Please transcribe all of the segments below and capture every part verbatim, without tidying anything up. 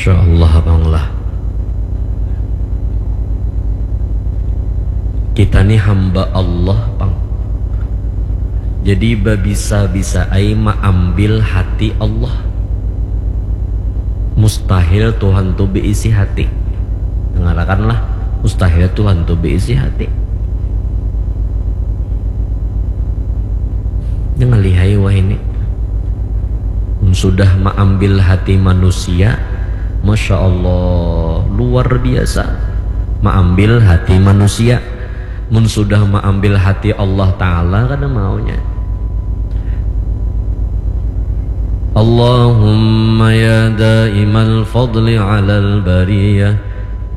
Masya Allah, Bang lah. Kita ni hamba Allah, Bang. Jadi babisa-bisa ai maambil hati Allah. Mustahil Tuhan tu beisi hati. Dengarakanlah, mustahil Tuhan tu beisi hati. Jangan lihai wah ini. Mun sudah maambil hati manusia, Masya Allah, luar biasa. Maambil hati manusia. Mun sudah maambil hati Allah Ta'ala, kada maunya. Allahumma ya daimal fadli alal bariyah,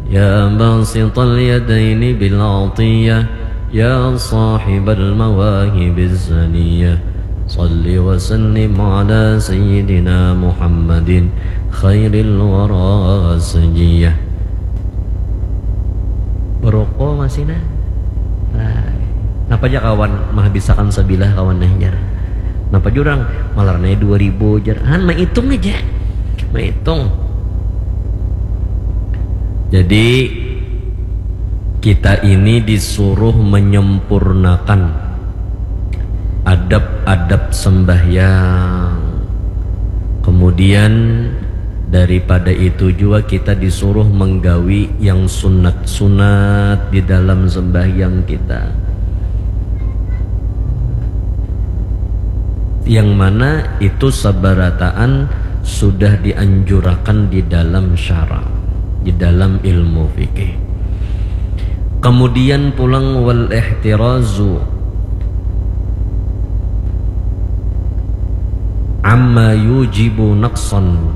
ya basital yadaini bil atiyah, ya sahibal mawahibiz zaniyah, salli wa sallim ala sayyidina Muhammadin khairil wara sajiyah. Beroko masih nah. Nah, napa ja kawan mahabisakan sabilah kawan nah jar. Napa jurang malarnai dua ribu jar. Han maitung aja. Maitung. Jadi kita ini disuruh menyempurnakan adab-adab sembahyang. Kemudian daripada itu juga kita disuruh menggawi yang sunat-sunat di dalam sembahyang kita. Yang mana itu sabarataan sudah dianjurakan di dalam syara, di dalam ilmu fikih. Kemudian pulang wal ihtirazu amma yujibu naqsan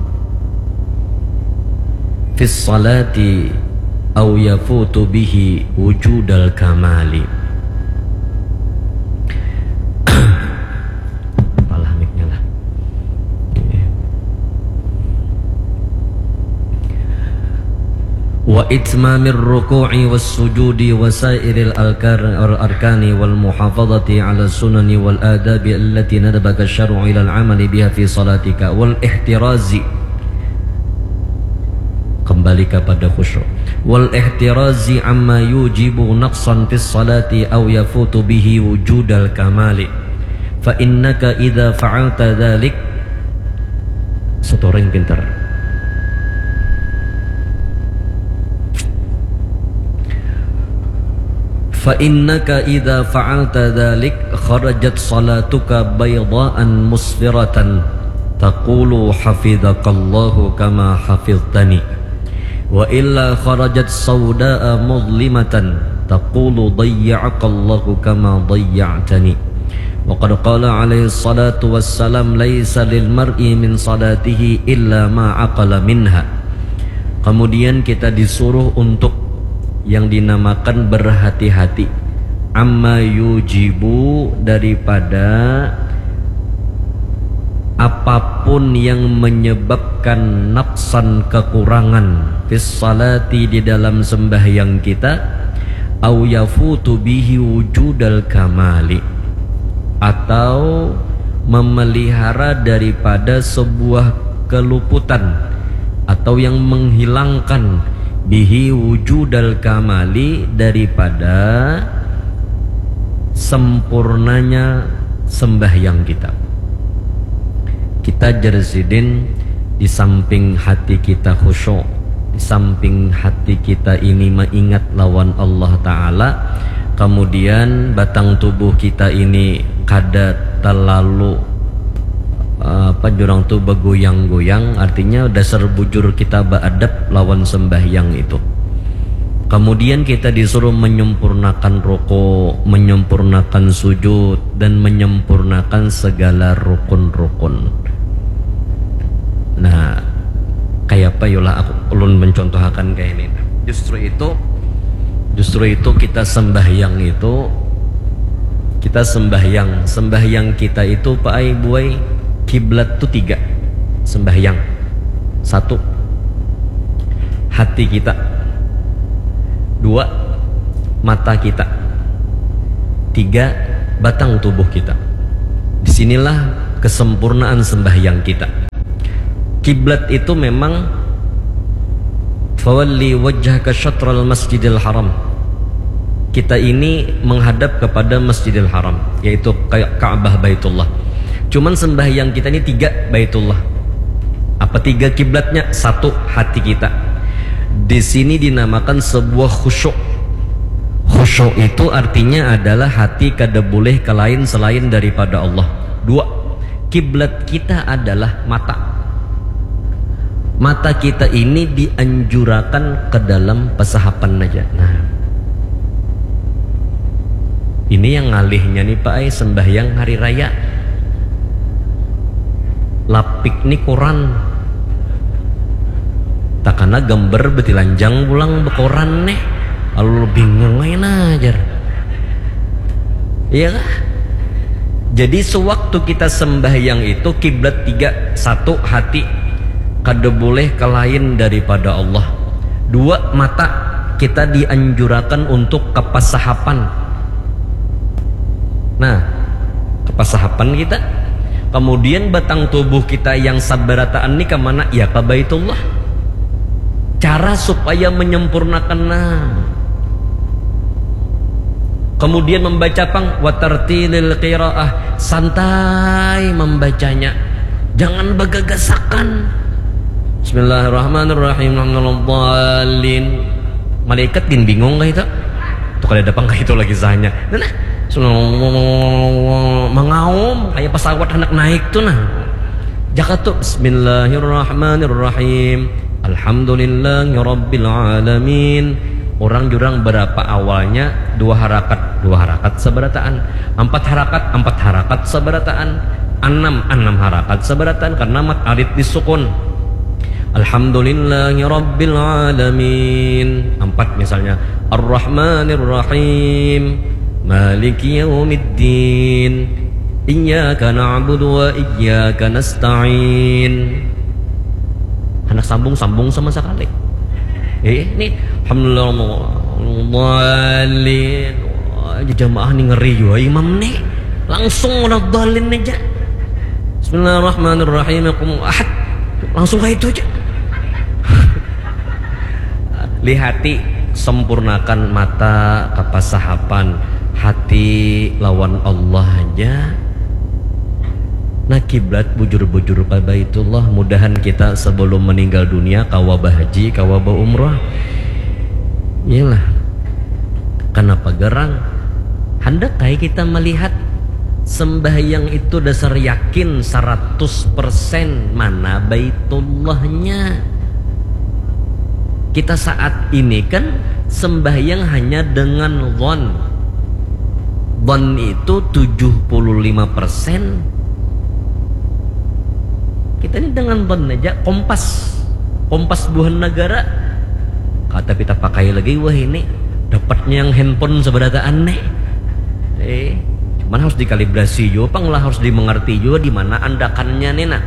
fis salati au yafutu bihi wujudal kamali. Palah miknya lah. Wa itmamir ruku'i was sujudi wa sairil alkar-, al-, arkani wal muhafadati ala sunani wal adabi allati nadabaka syar'u ilal amali biha fi salatika wal ihtirazi. Kembali kepada khusyuk. Wal ihtirazi amma yujibu naqsan fis salati au yafutu bihi wujudal kamali. Fa innaka idza fa'alta dzalik, setoring pintar. Fa innaka idza fa'alta dzalik kharajat salatuka baydaan musfiratan taqulu hafidzakallahu kama hafidhtani. Wa illa kharajat saudaa mudlimatan taqulu dayya'akallahu kama dayya'tani. Wa qad qala alaihi salatu wassalam laisa lil mar'i min salatihi illa ma aqala minha. Kemudian kita disuruh untuk yang dinamakan berhati-hati amma yujibu daripada apapun yang menyebabkan naqsan kekurangan fis salati di dalam sembahyang kita au yafutu bihi wujudal kamali atau memelihara daripada sebuah keluputan atau yang menghilangkan bihi wujudal kamali daripada sempurnanya sembahyang kita. Kita jar sidin di samping hati kita khusyuk, di samping hati kita ini maingat lawan Allah Ta'ala, kemudian batang tubuh kita ini kada terlalu eh, apa jurang tu begoyang-goyang, artinya dasar bujur kita beadab lawan sembahyang itu. Kemudian kita disuruh menyempurnakan ruku, menyempurnakan sujud, dan menyempurnakan segala rukun-rukun. Nah, kayak apa yolah aku ulun mencontohakan kayak ini. Justru itu, justru itu kita sembahyang itu, kita sembahyang, sembahyang kita itu paai buai kiblat tu tiga sembahyang. Satu, hati kita. Dua, mata kita. Tiga, batang tubuh kita. Disinilah kesempurnaan sembahyang kita. Kiblat itu memang "Fawalli wajhaka syatral Masjidil Haram." Kita ini menghadap kepada Masjidil Haram, yaitu Ka-, Ka'bah Baitullah. Cuman sembahyang kita ini tiga Baitullah. Apa tiga kiblatnya? Satu, hati kita. Di sini dinamakan sebuah khusyuk. Khusyuk itu artinya adalah hati kada boleh ke lain selain daripada Allah. Dua, kiblat kita adalah mata. Mata kita ini dianjurakan ke dalam pasahapan aja. Nah, ini yang ngalihnya nih, Pak, ai, sembahyang hari raya. Lapik nih koran. Takana gambar betilanjang pulang bekoran nih. Lalu bingung aja nah, jar. Iya kah? Jadi sewaktu kita sembahyang itu kiblat tiga. Satu, hati. Kada boleh ke lain daripada Allah. Dua, mata. Kita dianjurakan untuk ke pasahapan. Nah, ke pasahapan kita. Kemudian batang tubuh kita yang sabarataan ni ke mana? Ya ke Baitullah. Cara supaya menyempurnakan, nah. Kemudian membaca pang, watartilil qiraah, santai membacanya. Jangan bagagasakan. Bismillahirrahmanirrahim. Alhamdulillah. Malaikat gin bingung kah itu? Tuh kada ada pang kah itu lagi sahnya. Nah, nah. Mengaum kayak pesawat hendak naik tuh nah. Jaka tuh, Bismillahirrahmanirrahim. Alhamdulillahirabbil alamin. Orang jurang berapa awalnya? Dua harakat, dua harakat sabarataan. Empat harakat, empat harakat sabarataan. Enam, enam harakat sabarataan karena mat alit disukun. Alhamdulillahirabbil alamin. Empat misalnya. Arrahmanirrahim. Maliki yaumiddin. Iyyaka na'budu wa iyyaka nasta'in. Anak sambung-sambung sama sekali. Eh, ini alhamdulillah. Jamaah nih ngeri juga imam nih. Langsung waladdallin aja. Bismillahirrahmanirrahim. Aku ahad. Langsung kayak itu aja. Lihati, sempurnakan mata kapasahapan, hati lawan Allah aja. Nah, kiblat bujur-bujur pa Baitullah. Mudahan kita sebelum meninggal dunia kawa bahaji, kawa baumrah. Iyalah. Kenapa gerang? Hendak kai kita melihat sembahyang itu dasar yakin seratus persen mana Baitullahnya. Kita saat ini kan sembahyang hanya dengan zon. Zon itu tujuh puluh lima persen. Kita ini dengan zon aja, kompas. Kompas buhan negara. Kada pita pakai lagi wah ini. Dapatnya yang handphone sabarataan nih. Eh, cuman harus dikalibrasi juga pang lah, harus dimengerti juga di mana andakannya nih nah.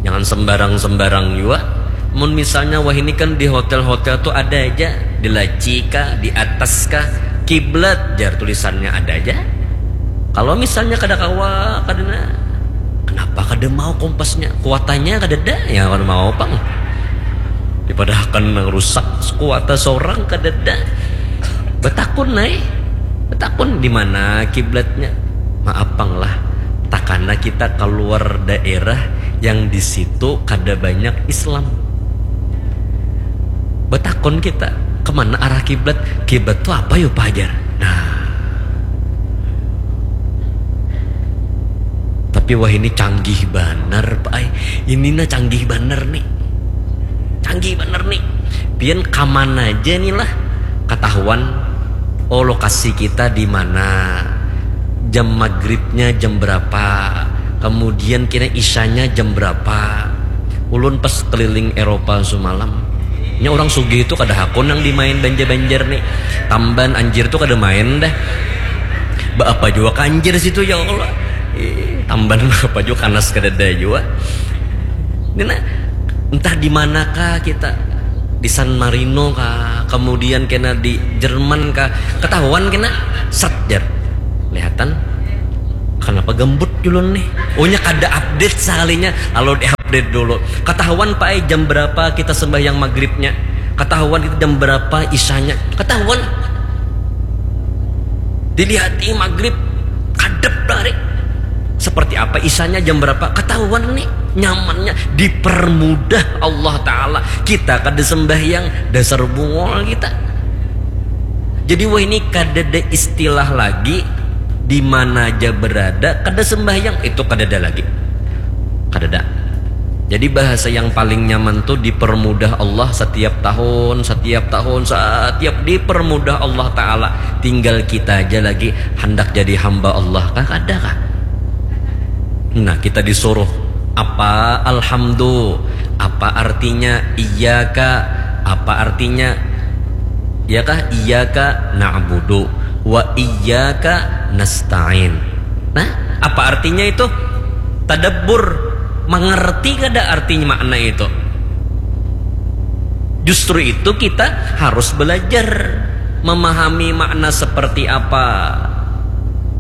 Jangan sembarang-sembarang juga. Mun misalnya wah ini kan di hotel-hotel tuh ada aja, di laci kah, di atas kah, kiblat jar tulisannya ada aja. Kalau misalnya kada kawa, kada na, kenapa kada mau kompasnya? Kuatannya kada ada, ya kada mau pang. Dipadahakan nang rusak, kuata seorang kada ada. Betakun nai, betakun di mana kiblatnya. Maaf pang lah, takana kita keluar daerah yang di situ kada banyak Islam. Betakun kita, kemana arah kiblat? Kiblat tu apa yo pajar? Nah, tapi wah ini canggih banar, Pak ai. Ini nah canggih banar nih. Canggih banar nih. Pian kaman aja nih lah. Ketahuan, oh, lokasi kita di mana. Jam maghribnya jam berapa. Kemudian kira isyanya jam berapa. Ulun pas keliling Eropa semalam. Nya orang sugih itu kada hakun nang dimain Banjar-Banjar nih. Tamban anjir tuh kada main dah. Ba apa jua kanjir situ ya Allah. Ih, tamban apa jua kanas kadada jua. Ini nah, entah di manakah kita, di San Marino kah, kemudian kena di Jerman kah, ketahuan kena set jar. Lihatan. Kenapa gembut dulu nih? Oh nya kada update sekalinya. Lalu di update dulu. Ketahuan Pak ai jam berapa kita sembahyang maghribnya. Ketahuan kita jam berapa isanya, ketahuan. Dilihati maghrib, kadep dari. Seperti apa isanya, jam berapa, ketahuan nih. Nyamannya, dipermudah Allah Ta'ala. Kita kada sembahyang, dasar bungol kita. Jadi wah ini kadada istilah lagi, di mana aja berada, kada sembahyang, itu kadada lagi. Kadada. Jadi bahasa yang paling nyaman tuh dipermudah Allah setiap tahun, setiap tahun, setiap dipermudah Allah Ta'ala. Tinggal kita aja lagi hendak jadi hamba Allah kah, kada kah? Nah, kita disuruh apa alhamdu, apa artinya iyaka, apa artinya, ya kah, iyaka na'budu wa iyaka nasta'in. Nah, apa artinya itu? Tadabbur, mengerti kada artinya makna itu? Justru itu kita harus belajar memahami makna seperti apa.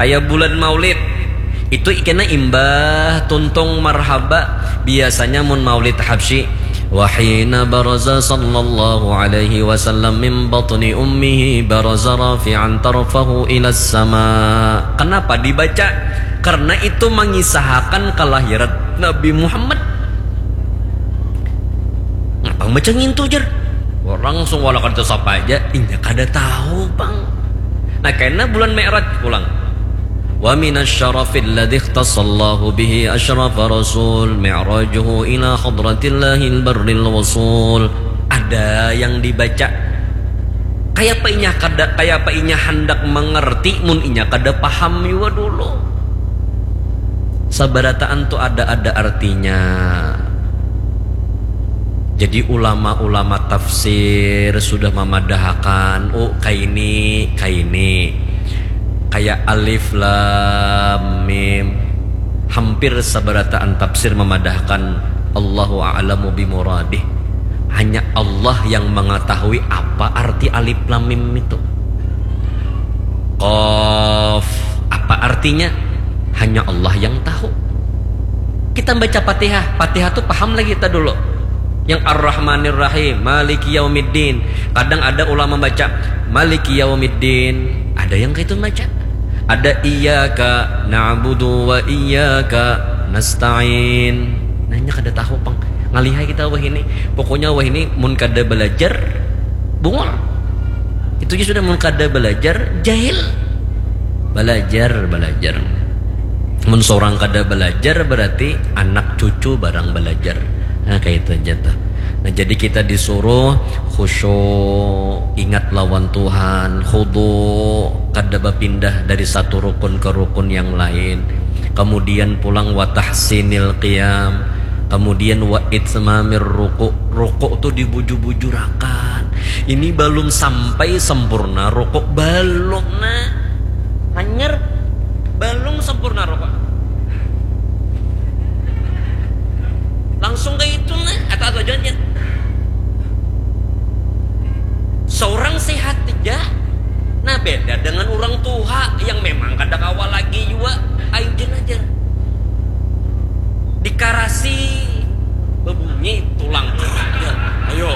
Kayak bulan Maulid, itu ikena imbah tuntung marhaba. Biasanya mun Maulid Habsyi, wahina baraza sallallahu alaihi wasallam min batni ummihi baraza rafi'an tarfahu ila sama. Kenapa dibaca? Karena itu mengisahakan kelahiran Nabi Muhammad. Ngapa baca ngintu, jar? Orang langsung wala kada sapa aja, inya kada tahu pang. Nah, kena bulan Mi'raj pulang. Wa minasyarafil ladzi ikhtassallahu bihi asyrafa rasul mi'rajuhu ila hadratillahil barril wasul. Ada yang dibaca. Kayapa inya kada, kayapa inya handak mengerti mun inya kada paham jua dulu. Sabarataan tu ada-ada artinya. Jadi ulama-ulama tafsir sudah mamadahakan, oh, kaini, kaini. Kaya alif lam mim. Hampir sabarataan tafsir mamadahakan Allahu a'lamu bimuradih. Hanya Allah yang mengetahui apa arti alif lam mim itu. Qaf, apa artinya? Hanya Allah yang tahu. Kita baca Fatihah, Fatihah tu paham lagi kita dulu. Yang Ar-Rahmanir Rahim, Maliki Yaumiddin. Kadang ada ulama baca Maliki Yaumiddin, ada yang kayak itu baca. Ada iyyaka na'budu wa iyyaka nasta'in. Nanya kada tahu pang. Ngalihai kita wah ini. Pokoknya wah ini mun kada belajar, bungul. Itu aja sudah, mun kada belajar, jahil. Belajar, belajar. Mun seorang kada belajar, berarti anak cucu barang belajar. Nah, kayak itu aja tuh. Nah, jadi kita disuruh khusyuk, ingat lawan Tuhan, khudu, kada bapindah dari satu rukun ke rukun yang lain. Kemudian pulang wa tahsinil qiyam, kemudian wa itmamir ruku. Ruku tuh dibujur-bujurakan. Ini belum sampai sempurna ruku, belum, nah. Hanyar, belum sempurna ruku. Langsung ke itu, nah, atau atau jangan. Seorang sehat aja. Nah, beda dengan orang tua yang memang kada kawa lagi jua. Ayo, jen aja. Dikarasi, bebunyi tulang. Ya, ayo.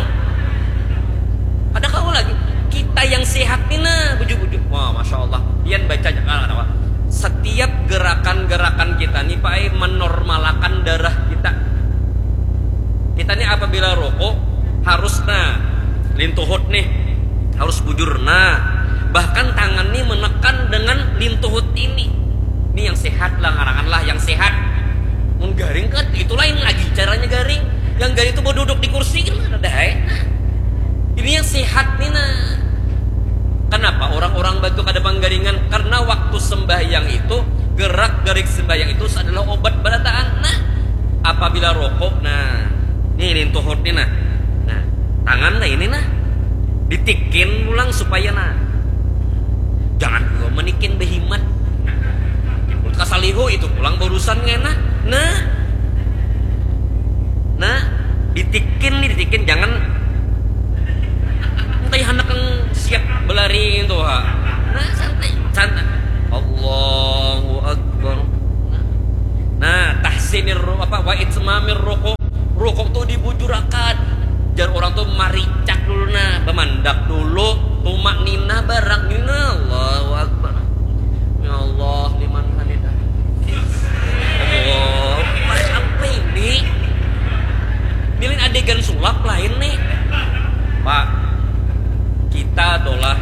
Kada kawa lagi. Kita yang sehat ni, nah, bujur-bujur. Wah, Masya Allah. Pian baca aja, nah, kenapa? Setiap gerakan-gerakan kita ni, Pak, eh, menormalakan darah kita. Kita ni apabila ruku, harus, nah, lintuhut nih, harus bujur, nah. Bahkan tangan ni menekan dengan lintuhut ini. Ini yang sehat lah, ngarangan lah yang sehat. Mun garing kan, itu lain lagi caranya garing. Yang garing itu beduduk di kursi kan ada, eh. Nah, ini yang sehat nih, nah. Kenapa orang-orang batu kada panggaringan? Karena waktu sembahyang itu, gerak-gerik sembahyang itu adalah obat barataan. Nah, apabila ruku, nah, nih, lintuhut nih, nah. Nah, tangan, nah, ini, nah. Ditikin pulang supaya, nah. Jangan juga menikin behimat. Kasalihu itu pulang barusan ngena. Nah. Nah, ditikin nih, ditikin, jangan entah handak yang siap belari itu, ha. Nah, santai, santai. Allahu Akbar. Nah, tahsinir ru-, apa, wa itmamir ruku. Ruku tuh dibujurakan. Jar orang tu maricak dulu nah, bamandak dulu, tumak ninah barak ninah, Allahu Akbar. Ya Allah, liman hamidah. Allah, apa ini? Milin adegan sulap lain nih. Pak, kita adalah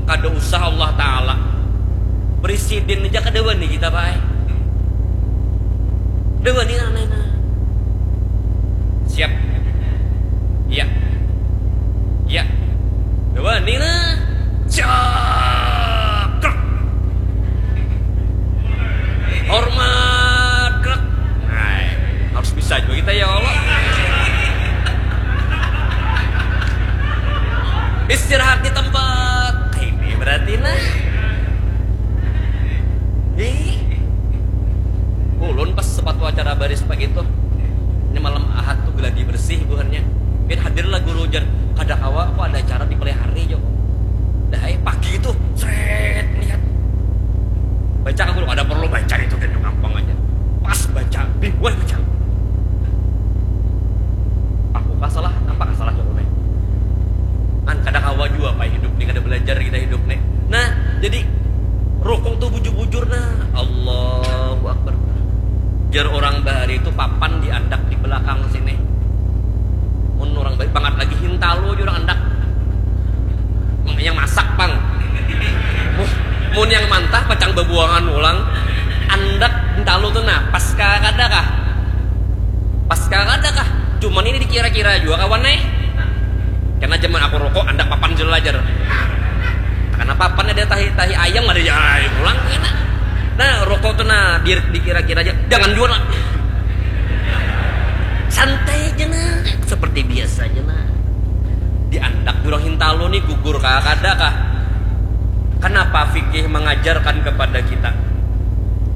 kada usah Allah Ta'ala. Presiden aja kada wani kita, Pak. Kada wani nah, nah, nah. Siap. Iya. Iya. Kada wani nah. Siap. Krak. Hormat. Krak. Nah, harus bisa juga kita ya Allah. Istirahat di tempat. Ini berarti nah. Ih. Ulun pas sepatu acara baris pagi tuh. Ini malam Ahad tuh geladi bersih buhannya. Bin hadir lah guru jar. Kada kawa apa ada acara di pelihari jo. Dah eh, pagi tuh. Sret lihat. Baca aku ada perlu baca itu kan gampang aja. Pas baca, bingung baca. Aku kasalah, apa kasalah jawabannya? Kan kada kawa jua apa hidup nih, kada belajar kita hidup nih. Nah, jadi rukuk tuh bujur-bujur nah. Allahu Akbar. Jar orang bahari itu papan diandak di belakang sini. Mun orang baik banget lagi hintalo aja orang andak. Yang masak pang. Mun yang mantah pacang babuangan ulang. Andak hintalo tuh nah pas kada kah? Pas kada kah? Cuman ini dikira-kira juga kawan eh. Karena zaman aku rokok andak papan jelajar. Karena papan ada tahi tahi ayam ada ya pulang kena. Nah rokok tuh nah dikira-kira aja jangan jual lah. Santai aja nah seperti biasa aja nah. Di andak jurang hintalo nih gugur kah kada kah? Kenapa fikih mengajarkan kepada kita?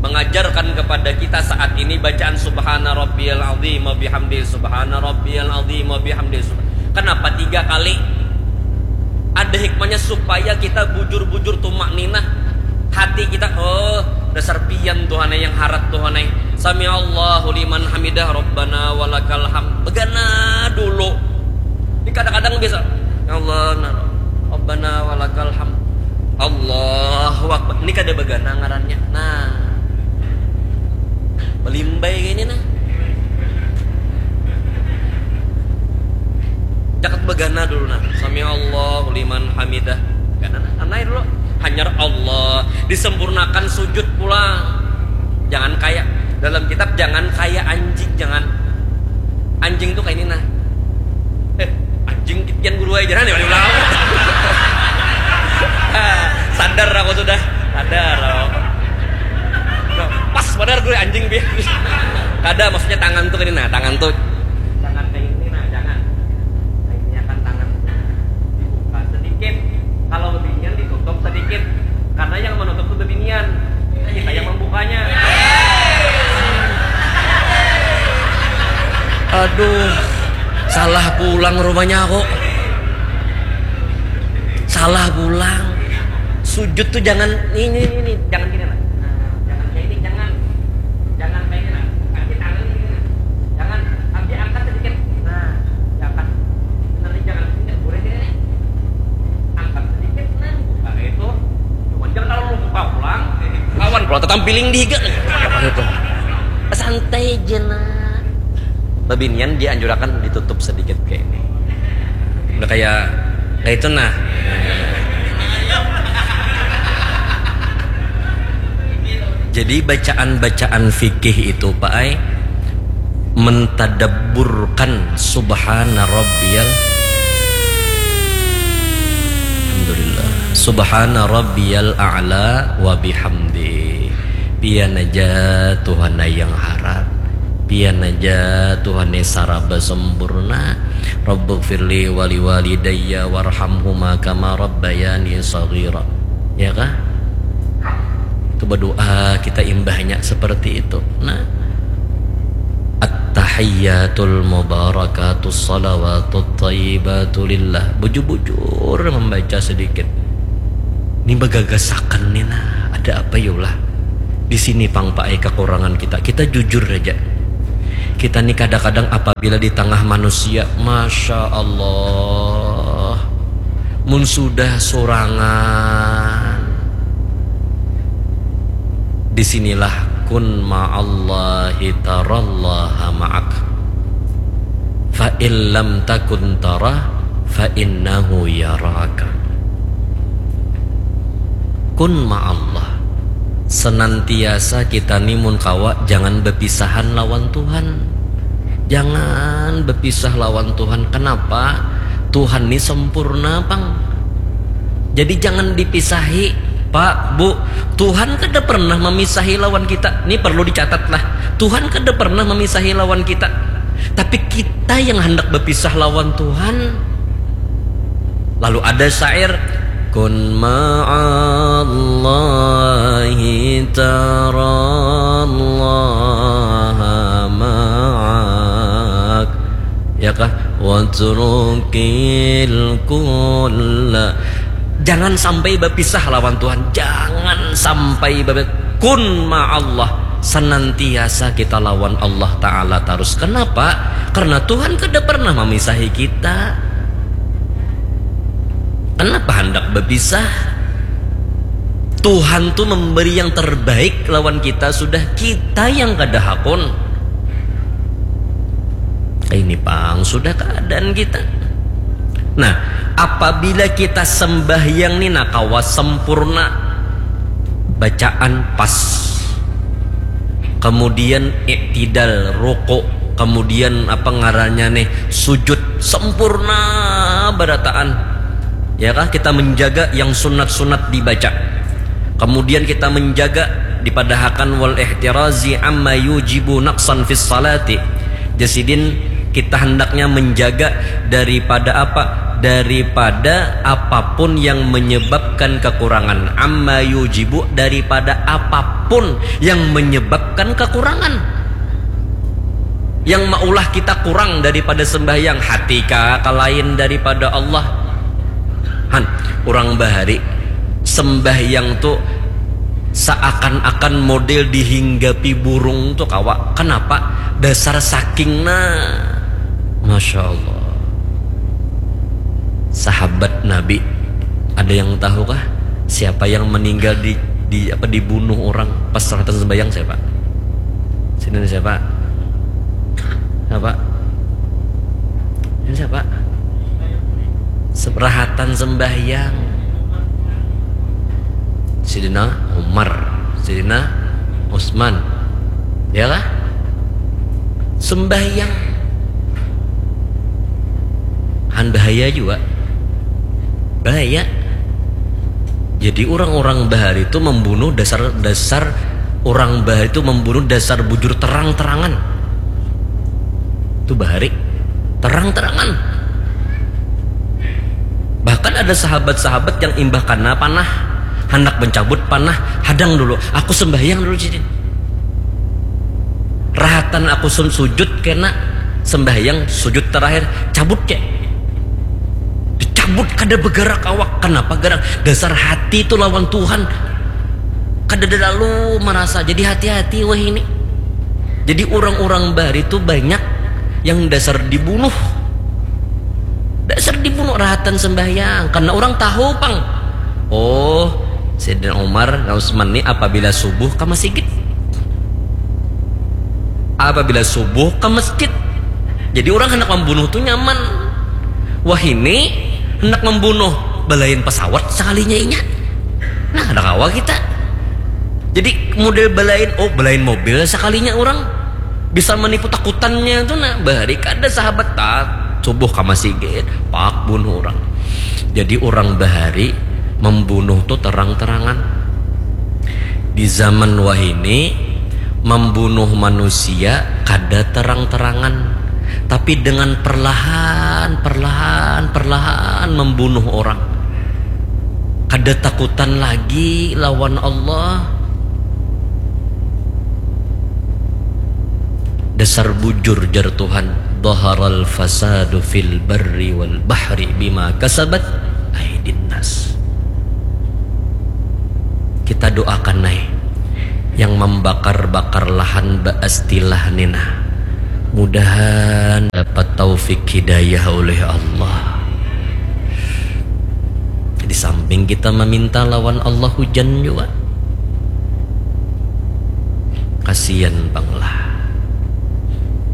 Mengajarkan kepada kita saat ini bacaan subhana rabbiyal azim wa bihamdi subhana rabbiyal azim wa bihamdi. Kenapa tiga kali? Ada hikmahnya supaya kita bujur-bujur tumak ninah hati kita, oh dasar pian Tuhan yang harat Tuhan. Sami Allahu liman hamidah rabbana walakal ham begana dulu. Ini kadang-kadang biasa ya Allah nah, rabbana walakal ham. Allahu Akbar. Ini kada begana ngarannya. Nah. Melimbai ini nah. Cakat begana dulu nah. Sami Allahu liman hamidah. Gana nah. Anai dulu. Hanyar Allah. Disempurnakan sujud pulang. Jangan kayak dalam kitab jangan kayak anjing jangan. Anjing tuh kayak ini nah. Eh, anjing kian guru aja jangan ya ulang. Sadar aku sudah. Sadar aku. Pas benar gue anjing bi. Kada maksudnya tangan tuh ini nah, tangan tuh. Jangan kayak ini nah, jangan. Kayak ini akan tangan dibuka sedikit. Kalau bebinian ditutup sedikit. Karena yang menutup tuh bebinian. Kita yang membukanya. Aduh, salah pulang rumahnya aku. Salah pulang. Sujud tuh jangan ini ini ini, jangan gini lah. Nah, jangan kayak ini, jangan. Jangan kayak ini nah. Kaki tangan ini nah. Jangan, kaki angkat sedikit. Nah, diangkat. Nanti jangan sedikit boleh ini nih. Angkat sedikit nah, buka itu. Cuman jangan kalau lu buka pulang, lawan pulang tetap piling di higa. Santai aja nah. Bebinian dianjurakan ditutup sedikit kayak ini. Udah kayak kayak itu nah. Jadi bacaan-bacaan fikih itu Pak ai mentadabburkan subhana rabbiyal Alhamdulillah. Subhana rabbiyal a'la wa bihamdi. Pian aja Tuhan yang harat. Pian aja Tuhan saraba sempurna. Rabbighfirli wali walidayya warhamhuma kama rabbayani saghira. Ya kah? Itu berdoa kita imbahnya seperti itu. Nah, At-tahiyyatul mubarakatus salawatut thayyibatu lillah. Bujur-bujur membaca sedikit. Ini bagagasakan nih nah, ada apa yulah? Di sini pang Pak ai kekurangan kita. Kita jujur aja. Kita ni kadang-kadang apabila di tangah manusia, Masya Allah, mun sudah sorangan, di sinilah kun ma'allahi tarallaha ma'ak. Fa in lam takun tarah, fa innahu yaraka. Kun ma'allah. Senantiasa kita ni mun kawa jangan bepisahan lawan Tuhan. Jangan bepisah lawan Tuhan. Kenapa? Tuhan ni sempurna pang. Jadi jangan dipisahi, Pak, Bu. Tuhan kada pernah memisahi lawan kita. Ini perlu dicatat lah. Tuhan kada pernah memisahi lawan kita. Tapi kita yang hendak berpisah lawan Tuhan. Lalu ada syair, kun ma'allahi tarallaha ma'ak. Ya kah? Watrukil kulla. Jangan sampai berpisah lawan Tuhan. Jangan sampai ber kun ma'allah. Senantiasa kita lawan Allah Ta'ala terus. Kenapa? Karena Tuhan kada pernah memisahi kita. Kenapa hendak berpisah? Tuhan tuh memberi yang terbaik lawan kita, sudah kita yang kada hakun. Ini pang sudah keadaan kita. Nah, apabila kita sembahyang ni nah kawa sempurna, bacaan pas, kemudian iktidal, rukuk, kemudian apa ngarannya nih, sujud sempurna berataan. Ya kah, kita menjaga yang sunat-sunat dibaca. Kemudian kita menjaga dipadahakan wal ihtirazi amma yujibu naqsan fis salati. Jasidin, kita hendaknya menjaga daripada apa? Daripada apapun yang menyebabkan kekurangan. Amma yujibu, daripada apapun yang menyebabkan kekurangan. Yang maulah kita kurang daripada sembahyang, hati kah, ka lain daripada Allah. Han, urang bahari sembahyang tu seakan-akan model dihinggapi burung tu kawa. Kenapa? Dasar saking nah. Masya Allah. Sahabat Nabi, ada yang tahu kah siapa yang meninggal di, di apa, dibunuh orang pas rahatan sembahyang? Siapa? Sini ada siapa? Siapa? Ini siapa? Seberahatan sembahyang. Sidina Umar, Sidina Utsman. Ya kah? Sembahyang. Han bahaya juga. Bahaya. Jadi orang-orang bahari itu membunuh dasar-dasar, orang bahari itu membunuh dasar bujur terang-terangan. Itu bahari terang-terangan. Bahkan ada sahabat-sahabat yang imbah kana panah, hendak mencabut panah, hadang dulu, aku sembahyang dulu, jadi rahatan aku sun sujud kena sembahyang sujud terakhir, cabut cek. Dicabut, kada bergerak awak. Kenapa gerak? Dasar hati itu lawan Tuhan. Kada ada lalu merasa. Jadi hati-hati wah ini. Jadi orang-orang bahari itu banyak yang dasar dibunuh. Dasar dibunuh rahatan sembahyang. Karena orang tahu pang. Oh, Sayyidina Umar dan Utsman ni apabila subuh ka masjid. Apabila subuh ka masjid. Jadi orang hendak membunuh tu nyaman. Wah ini hendak membunuh belain pesawat sekalinya inya. Nah, ada kawa kita. Jadi model belain, oh belain mobil sekalinya orang bisa menipu takutannya tu nah. Bahari kada sahabat tak subuh ka masjid, pak bunuh orang. Jadi orang bahari membunuh tu terang-terangan. Di zaman wahini membunuh manusia kada terang-terangan, tapi dengan perlahan, perlahan, perlahan membunuh orang. Kada takutan lagi lawan Allah. Dasar bujur jar Tuhan, dhaharal fasadu fil barri wal bahri bima kasabat aidin nas. Kita doakan nai yang membakar-bakar lahan baastilah nina. Mudahan dapat taufik hidayah oleh Allah. Di samping kita meminta lawan Allah hujan juga. Kasihan bang lah.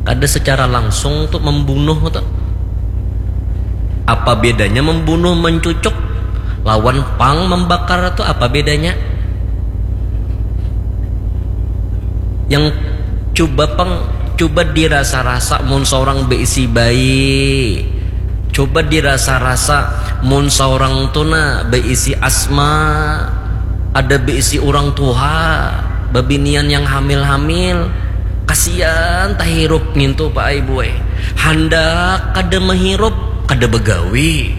Kada secara langsung tu membunuh tu. Apa bedanya membunuh mencucuk lawan pang membakar tu apa bedanya? Yang cuba pang, cuba dirasa-rasa mun seorang beisi bayi, cuba dirasa-rasa mun seorang tu nah beisi asma, ada beisi orang tuha, babinian yang hamil-hamil, kasian tahirup ngintu pak ai buai. Handak kada mahirup, kada bagawi,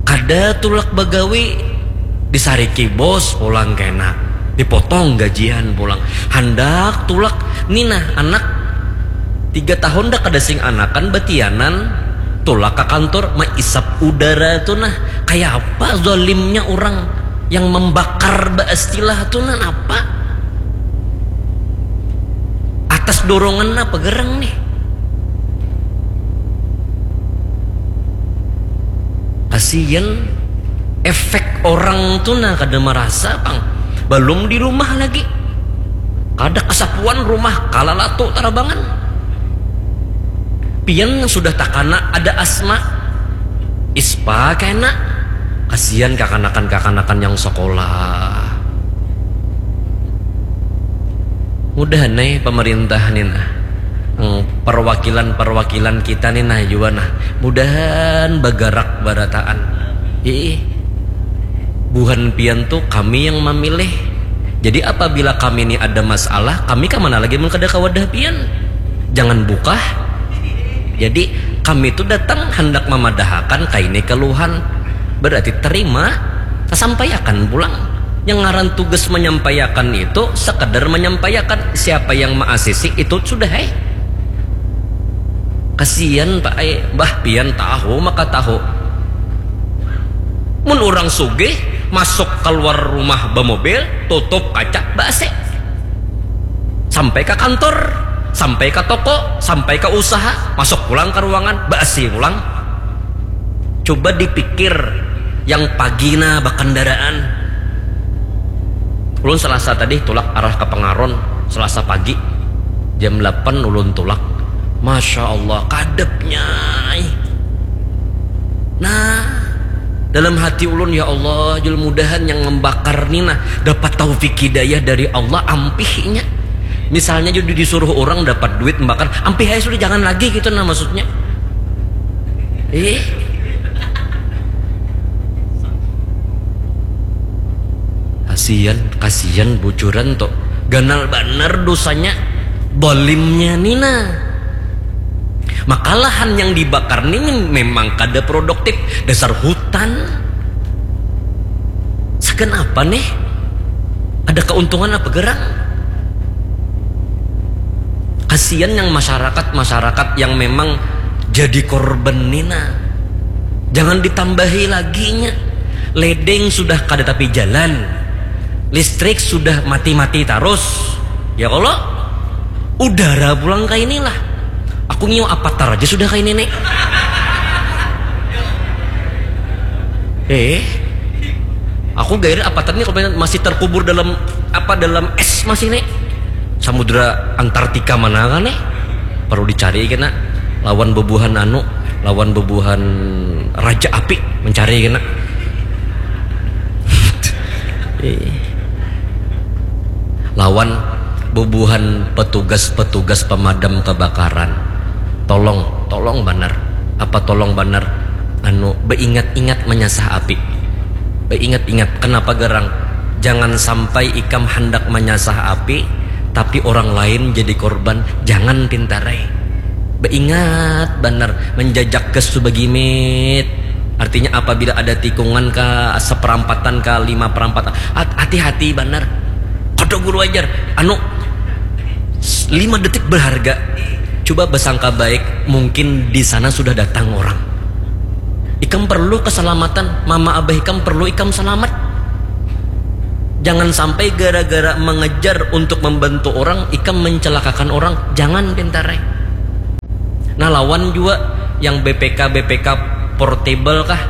kada tulak bagawi, disariki bos pulang kena, dipotong gajian pulang. Handak tulak ni nah anak tiga tahun dah kada sing anakan batianan, tulak ka kantor maisap udara tu nah. Kaya apa zalimnya urang yang membakar baistilah tu nah, napa? Atas dorongan apa gerang nih? Kasian efek orang tu nah kada merasa pang. Belum di rumah lagi. Kada kesapuan rumah kalalatu tarabangan. Pian sudah takana ada asma. Ispa kena. Kasian kakanakan-kakanakan yang sekolah. Mudahan nih pemerintah nih nah. Hmm, perwakilan-perwakilan kita nih nah jua nah. Mudahan bagarak barataan. Ih, buhan pian tuh kami yang memilih. Jadi apabila kami ini ada masalah, kami ke mana lagi mun kada ke wadah pian? Jangan bukah. Jadi kami itu datang hendak memadahakan kaini keluhan. Berarti terima, sampaiakan pulang. Yang ngaran tugas menyampaiakan itu sekadar menyampaiakan, siapa yang maasisi itu sudah eh. Kasian pak ai, bah pian tahu maka tahu. Mun urang sugih masuk kaluar rumah bamobil, tutup kaca, baasi. Sampai ka kantor, sampai ka toko, sampai ka usaha, masuk pulang ka ruangan, baasi pulang. Cuba dipikir yang pagi nah bakandaraan. Ulun Selasa tadi tulak arah ka Pengaron, Selasa pagi jam delapan ulun tulak. Masya Allah kadepnya. Nah, dalam hati ulun, ya Allah, jul mudahan yang membakar ni nah dapat taufik hidayah dari Allah, ampihnya. Misalnya jadi disuruh orang dapat duit membakar, ampih aja sudah, jangan lagi gitu nah maksudnya. Eh, kasian, kasian bujuran tuh, ganal banar dosanya, dolimnya ni nah. Maka lahan yang dibakar ni memang kada produktif, dasar hutan. Sagan apa nih? Ada keuntungan apa gerang? Kasian yang masyarakat-masyarakat yang memang jadi korban ni nah. Jangan ditambahi lagi nya. Ledeng sudah kada tapi jalan. Listrik sudah mati-mati tarus. Ya kalo? Udara pulang kaini lah. Aku ngiau avatar aja sudah kaini nih. Eh, aku gairnya avatar nih kalau masih terkubur dalam apa, dalam es masih nih. Samudra Antartika mana kan nih? Perlu dicari kena lawan bebuhan anu, lawan bebuhan raja api mencari kena. Eh. Lawan bubuhan petugas-petugas pemadam kebakaran. Tolong, tolong banar. Apa tolong banar? Anu, beingat-ingat menyasah api. Beingat-ingat, kenapa gerang? Jangan sampai ikam hendak menyasah api, tapi orang lain jadi korban. Jangan pintarai. Beingat banar, menjajak gas tu bagimit. Artinya apabila ada tikungan ka seperampatan ka lima perampatan, hat- hati-hati banar. Kada guru ajar. Anu, lima detik berharga. Coba bersangka baik, mungkin di sana sudah datang orang. Ikam perlu keselamatan, mama abah ikam perlu ikam selamat. Jangan sampai gara-gara mengejar untuk membantu orang, ikam mencelakakan orang. Jangan, pintarai. Nah, lawan jua yang B P K, B P K portable kah?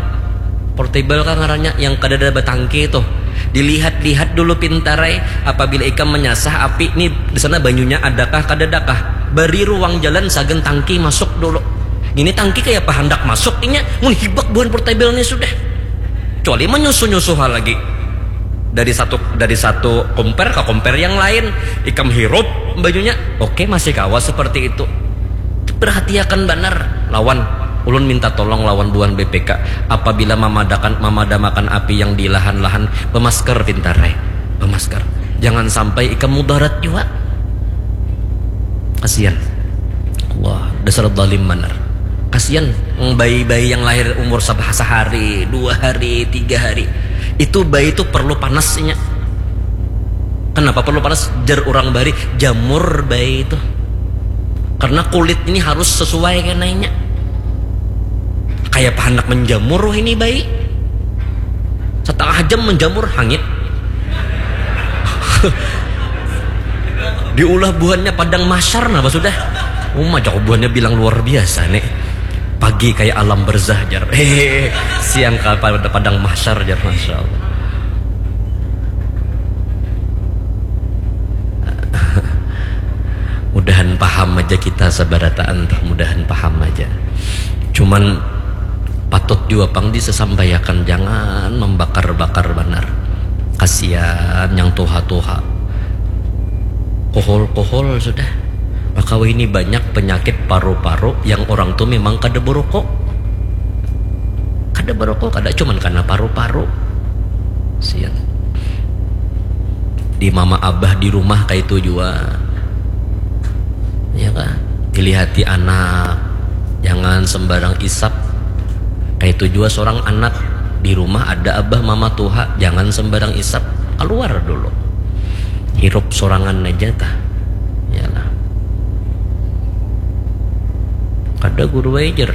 Portable kah ngarannya? Yang kadada batangki tuh. Dilihat-lihat dulu, pintarai. Apabila ikam menyasah api, nih di sana banyunya adakah, kadadakah? Bari ruang jalan sagan tangki masuk dulu. Ini tangki kaya apa handak masuk inya, mun hibak buhan portable nih sudah. Kecuali menyusuh-nyusuh lagi. Dari satu, dari satu compare ke compare yang lain, ikam hirup bajunya, oke, masih kawa seperti itu. Perhatiakan banar lawan. Ulun minta tolong lawan buhan B P K, apabila mamadakan, mamadamakan api yang di lahan-lahan, bemasker, pintarai. Bemasker. Jangan sampai ikam mudarat jua. Kasian. Wah, dasar zalim banar. Kasian, mm, bayi-bayi yang lahir umur sab-, sehari, dua hari, tiga hari. Itu bayi itu perlu panasnya. Kenapa perlu panas? Jar urang bahari, jamur bayi itu. Karena kulit ini harus sesuai kenainya. Kayak apa hendak menjamur wah ini bayi. Setengah jam menjamur, hangit. Diulah buhannya padang mahsyar, nah, pas sudah. Uma, jauh buhannya bilang luar biasa nih. Pagi kayak alam barzah, jar. Hehehe. Siang kayak pada padang mahsyar, jar. Masya Allah. Mudahan paham aja kita sabarataan tuh, mudahan paham aja. Cuman patut jua pang disasampaiakan, jangan mambakar-bakar banar. Kasian yang tuha-tuha. Kohol-kohol sudah. Maka wahini banyak penyakit paru-paru yang orang tu memang kada barokok. Kada barokok, kada, cuman karena paru-paru. Sian. Di mama abah di rumah kaitu jua. Ya kah? Dilihati anak, jangan sembarang isap. Kaitu jua seorang anak, di rumah ada abah mama tuha, jangan sembarang isap, keluar dulu. Hirup sorangan aja tah. Yalah. Kada guru ai jar.